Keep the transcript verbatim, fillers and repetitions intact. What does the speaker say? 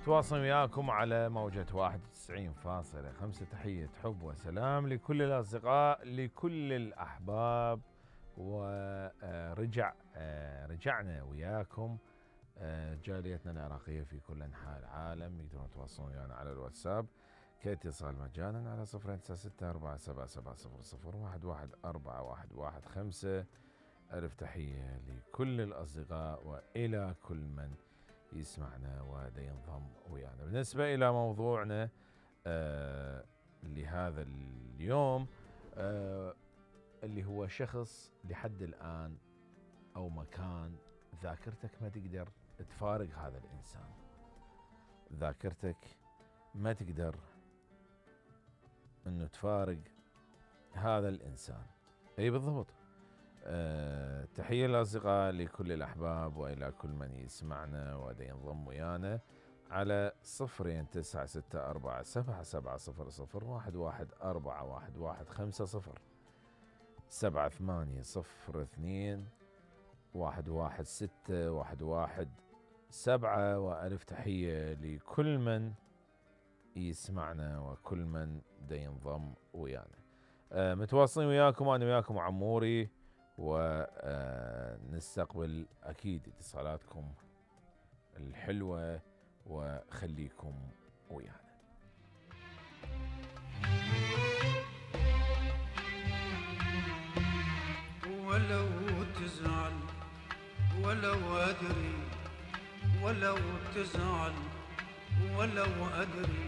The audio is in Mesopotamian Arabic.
تواصل وياكم على موجة واحد وتسعين فاصلة خمسة. تحية حب وسلام لكل الأصدقاء لكل الأحباب. ورجع رجعنا وياكم جاليتنا العراقية في كل أنحاء العالم. يقدرون يتواصلون ويانا على الواتساب كاتصال مجانا على صفر تسعة ستة أربعة سبعة سبعة صفر صفر واحد واحد أربعة واحد واحد خمسة. ألف تحية لكل الأصدقاء وإلى كل من يسمعنا ودا ينضم ويانا. بالنسبة إلى موضوعنا آه لهذا اليوم آه اللي هو شخص لحد الآن أو مكان ذاكرتك ما تقدر تفارق هذا الإنسان، ذاكرتك ما تقدر أنه تفارق هذا الإنسان. أي بالضبط. أه تحية للأصدقاء لكل الأحباب وإلى كل من يسمعنا ودا ينضم ويانا على صفرين تسعة ستة أربعة سبعة سبعة صفر صفر واحد واحد أربعة واحد واحد خمسة صفر سبعة ثمانية صفر اثنين واحد واحد ستة واحد واحد سبعة. وألف تحية لكل من يسمعنا وكل من دا ينضم ويانا. أه متواصلين وياكم أنا وياكم عموري، ونستقبل أكيد اتصالاتكم الحلوة وخليكم ويانا. ولو تزعل ولو أدري ولو تزعل ولو أدري